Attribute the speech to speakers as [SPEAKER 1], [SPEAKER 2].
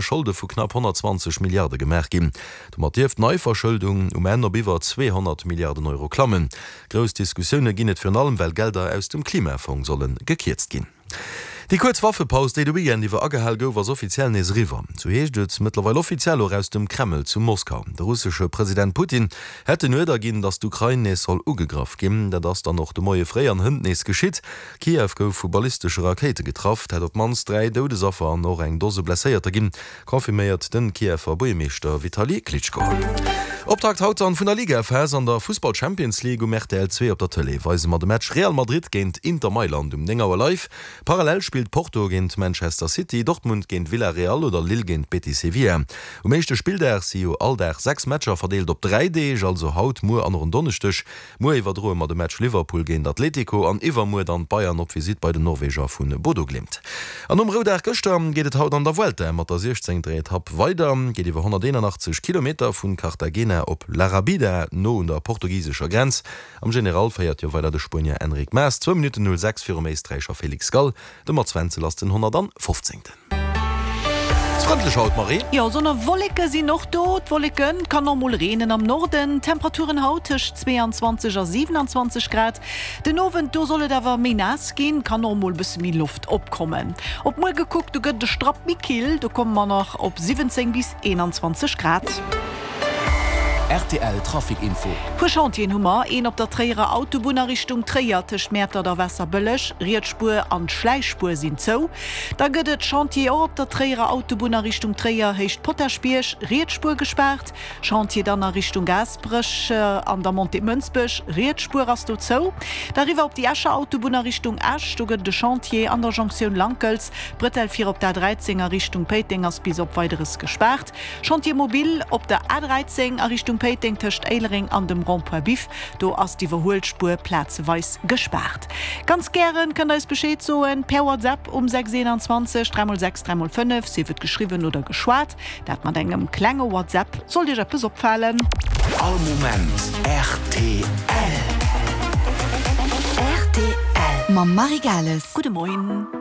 [SPEAKER 1] Scholde vu knapp 120 Milliarde gemaach ginn. Domat dierft d'Neiverschëldung um Enn op iwwer 200 Milliarden Euro klammen. Grouss Diskussioune ginn et virun allem, well Gelder aus dem Klimafong solle gekierzt ginn. Déi kuerz Waffepaus, déi de Weekend iwwer agehal gouf, ass offiziell nees eriwwer. Sou heescht et mëttlerweil offiziell och aus dem Kreml zu Moskau. De russesche President Putin hätt den Uerder ginn, datt d'Ukrain nees soll ugegraff ginn. Dat ass dann och de Moie fréi an hënt nees geschitt. Kiew gouf vu ballistesche Rakéite getraff. Et hätt op d'mannst 3 Doudesaffer an och eng Dose Blesséierter ginn, confirméiert de Kiewer Buergermeeschter Vitali Klitschko. Optakt haut dann vun der Ligaphas an der Fussball-Champions League um rtl 2 op der Tëlee weise mer de Match Real Madrid géint Inter Mailand um 9 Auer live. Parallel spillt Porto géint Manchester City, Dortmund géint Villarreal oder Lille géint Betis Sevilla. Um éischte Spilldag si jo all Dag 6 Matcher verdeelt op 3 Deeg, also haut, muer an och en Donneschdeg. Muer iwwerdroe mer de Match Liverpool géint Atletico an iwwermuer dann d'Bayern op Visitt bei den Norweger vu Bodo Glimt. An nom Roudag gëschter geet et haut an der Vuelta mat der 16. Etapp weider. Geet iwwer 181 Kilometer vu Cartagena op La Rabida, no un der portugisescher Grenz. Am General féiert jo weider de Spuenier Enric Mas, zwou Minutten 06 virum Éisträicher Felix Gall. De Mats Wenzel ass den 115. Ass frëndlech haut, Marie.
[SPEAKER 2] Jo, Sonn a Wolleke sinn och do. D'Wolleken, et kann och mol reenen am Norden. Temperaturen haut tëscht 22 a 27 Grad. Den Owend, do soll et awer méi naass ginn, kann och mol bësse méi Loft opkommen. Op muer gekuckt, do gëtt et e Strapp méi kill, do komme mer nach op 17 bis 21 Grad.
[SPEAKER 3] Rtl Trafic Info.
[SPEAKER 2] Puer Chantieren hu mer, een op der Tréierer Autobunn a Richtung Tréier tëscht Mäertert a Waasserbëlleg, riets Spuer an d'Schläichspuer sinn zou. Da gëtt et Chantier och op der Tréierer Autobunn a Richtung Tréier, Héicht Potaschbierg, riets Spuer gespaart. Chantier dann a Richtung Gaasperech an der Montée Mënsbech, riets Spuer ass do zou. Da riwwer op déi Escher Autobunn a Richtung Esch, do gëtt et e Chantier an der Jonktioun Lankels. D'Bretelle fir op d'A13 a Richtung Péiteng ass bis op Weideres gespaart. Chantier mobile op der A13 a Richtung Péiteng tëscht Éilereng an dem Rond-point Biff. Do ass d'Iwwerhuelspuer plazeweis gespaart. Ganz gären kënnt eis Bescheed soen per WhatsApp um 6 21 3 x 6 3 x 5, sief et geschriwwen oder geschwat. Dat mat engem klenge WhatsApp, sollt iech eppes opfalen.
[SPEAKER 3] All Moment rtl.
[SPEAKER 4] Rtl. Mam Marie Gales.
[SPEAKER 2] Gudde Moien.